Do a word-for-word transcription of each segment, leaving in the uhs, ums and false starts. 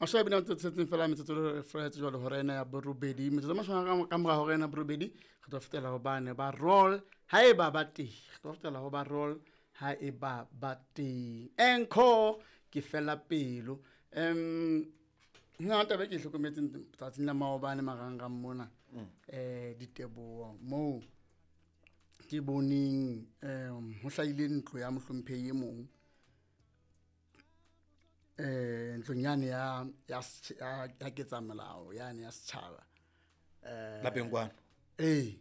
Mashome a mabedi a metso e tsheletseng fela metsotso e felletse jwale hora ena ya borobedi. Metsotso e mashome a ka mora hora ena ya borobedi re tlo fetela ho bane ba roll haeba ba teng. Re tlo fetela ho ba roll haeba ba teng. Encore ke fela pelo. Um nna taba e ke e hlokometseng tsatsing la maobane marangrang mona, eh diteboho moo ke boneng um ho hlahile ntlo ya mohlomphehi e mong, eh ntlong yane ya ya ya ya ketsamolao yane ya setjhaba, eh Lapeng kwano. Ee,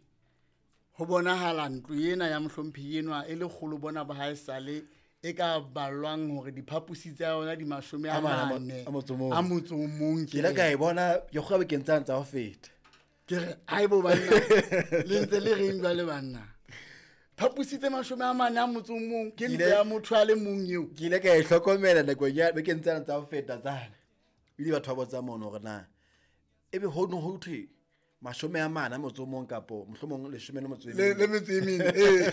ho bonahala ntlo ena ya mohlomphehi enwa e le kgolo bona ba haesale e ka ballwang hore diphaposi tsa yona di mashome a A mane a mo- mane a motso o mong. a motso o mong. Ke ile ka e bona ke kgwa bekeng tsane tsa ho feta. Ke re haebo banna, le ntse le reng jwale banna? Phaposi tse mashome a mane a motso o mong ke ntlo Ke ile- ya motho a le mong eo. Ke ile ka e hlokomela nakong ya bekeng tsane tsa ho feta tsane. Ebile batho ba botsa mono hore na ebe ho no ho thwe mashome a mane a motso o mong kapo mohlomong leshome le motso e Le mene. le metso e mene, ee.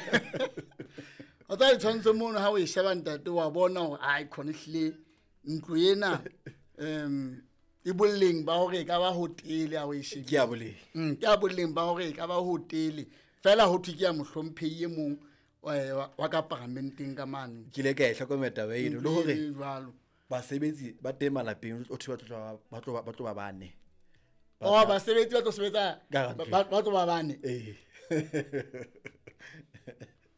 O tsa ditshwantsho mono ha o e sheba ntate wa bona hore ai khona ehlile ntlo ena um e boleng ba hore e ka ba hotele ha o e shebile. Ke ya boleng. Mm, ke ya boleng ba hore e ka ba hotele. Feela ho thwe ke ya mohlomphehi e mong, eh, wa, wa ka paramenteng ka mane. Ke ile ka e hlokomela taba eno, le Ntlo hore e jwalo. basebetsi ba teng malapeng, o thwe ba tlo tloha ba tlo ba, ba tlo ba bane. Oh, basebetsi ba tlo sebetsa Ka ba, ba, ba tlo ba bane. Ee.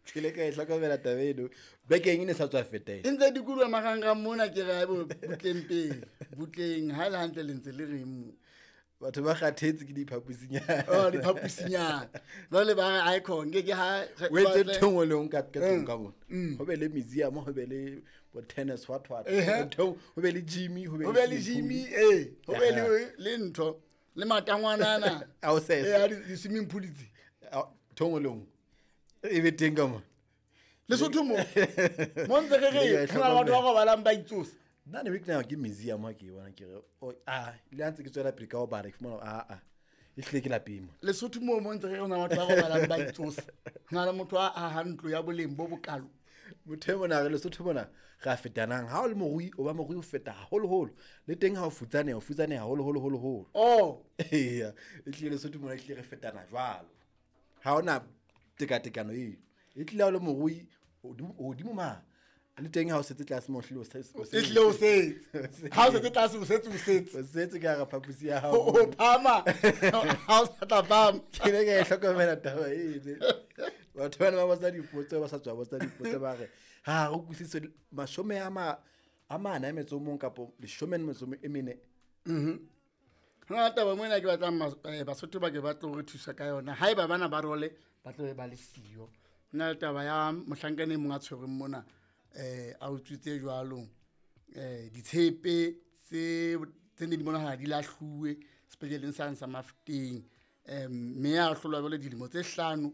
Ke ile ka e hlokomela taba eno. Bekeng e ne sa tswa feta ena. E ntse dikoloha marangrang mona, ke re haebo butleng pele, butleng ha e le hantle le ntse le reng mo. Batho ba kgathetse ke diphaposinyana. Oh, diphaposinyana. Jwale ba re icon ke ke ha O etse batle- ntho e nngwe le e nngwe ka, ka tlung Mm. ka mona. Mm. Ho be le museum, ho be le bo tennis, what, what. Ehe. Ntho e nngwe, ho be le gym, ho be Ho be le le gym, swimming pool. ee. Ho be le, Aha. le ntho, le matangwanana. A ho sesa. Ee, a di, di-swimming pool tse. A, ntho e nngwe le e nngwe. E be teng ka mona. Lesotho mo. Mo ntse re re, Le ho na le batho ba robalang ba itsosa. Nna ne ke nahana ke museum ha ke e bona, ke re, oh, ah, le ha ntse ke tswela pele ka ho bala, ke fumana hore, ah, ah, ehlile ke lapeng mona. Lesotho moo mo ntse re re ho na le batho ba robalang ba itsosa. Ho na le motho a ahang ntlo ya boleng bo bokalo. Motho e mona re Lesotho mona re a fetanang. Ha o le morui, o ba morui ho feta haholoholo. Le teng ha o futsaneha, o futsaneha haholoholo, holoholo. Oh. Eya, ehlile Lesotho mona ehlile re fetana jwalo. Ha hona tekatekano eo. Ehlile ha o le morui, hodimo, hodimo ma. Le teng ha o setse tlase mo hlile o setse, o setse. Ehlile o setse. Ha o setse tlase, o setse, o setse. O setse ka hara phaposi ya hao. O, o phama. Ha o sa tla phama. Ke ile ka e hlokomela taba eno. Batho bana ba botsa dipotso, ba sa tswa botsa dipotso, ba re, ha re utlwisise mashome a ma, a mane a metso o mong kapo leshome le metso e mene. Mhm. Ho na le taba mona ke batlang mas-, eh, Basotho ba ke ba tlo re thusa ka yona. Haeba bana ba role, ba tlo be ba le siyo. Ho na le taba ya mohlankana e mong a tshwerweng mona, eh, a utswitse jwalo, eh, ditshepe tse, tse neng di bonahala di lahluwe sepetleleng sane sa Mafeteng. Eh, mme a hlolwa jwale dilemo tse hlano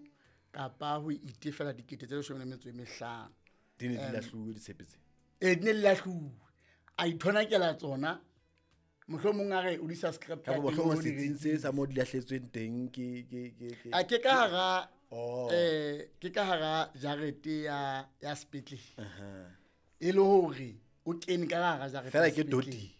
kapa ho itefela dikete tse leshome le metso e mehlano. Di ne di Em, lahluwe ditshepe tse? Ee, di ne di lahluwe. A ithonakela tsona. Mohlomong a re o di subscribe Kapa ka teng mohlomong o di setsing se sa moo di lahletsweng teng ke, ke, ke, ke. A ke ka hara, Oh. eh, ke ka hara jarete ya, ya sepetlele. Aha. E le hore o kene ka hara jarete Feela ya ke sepetlele. doti.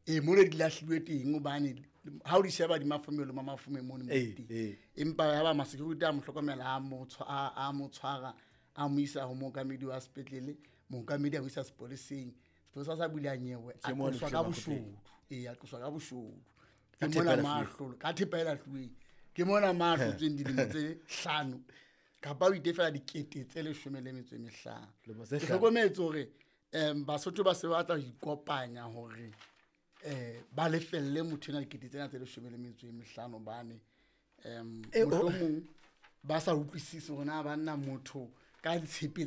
Ee, mo ne di lahlilwe teng hobane ha o di sheba di mafomelo, ma mafome mono mo Ee, teng. ee. Empa ya ba ma-security a mo hlokomela, a mo tshwa-, a, a mo tshwara, a mo isa ho mookamedi wa sepetlele, mookamedi a mo isa sepoleseng. Sepolesa sa bula nyewe, a Ke mo tloswa ka lehleng makgotleng. boshodu. Ee, a tloswa ka boshodu. Ka Ke mona thepa e mo a lahluweng. hlolo, ka thepa e lahluweng. Ke mona mo a hlotsweng dilemo tse hlano. Kapa o itefela dikete tse leshome le metso e mehlano. Lemo tse Ke hlano. hlokometse hore, em, Basotho ba se ba batla ho ikopanya hore, eh, ba lefelle motho ena dikete tsena tse leshome le metso e mehlano hobane, em, Eh, oh. mohlomong ba sa utlwisise hore na banna motho ka ditshepe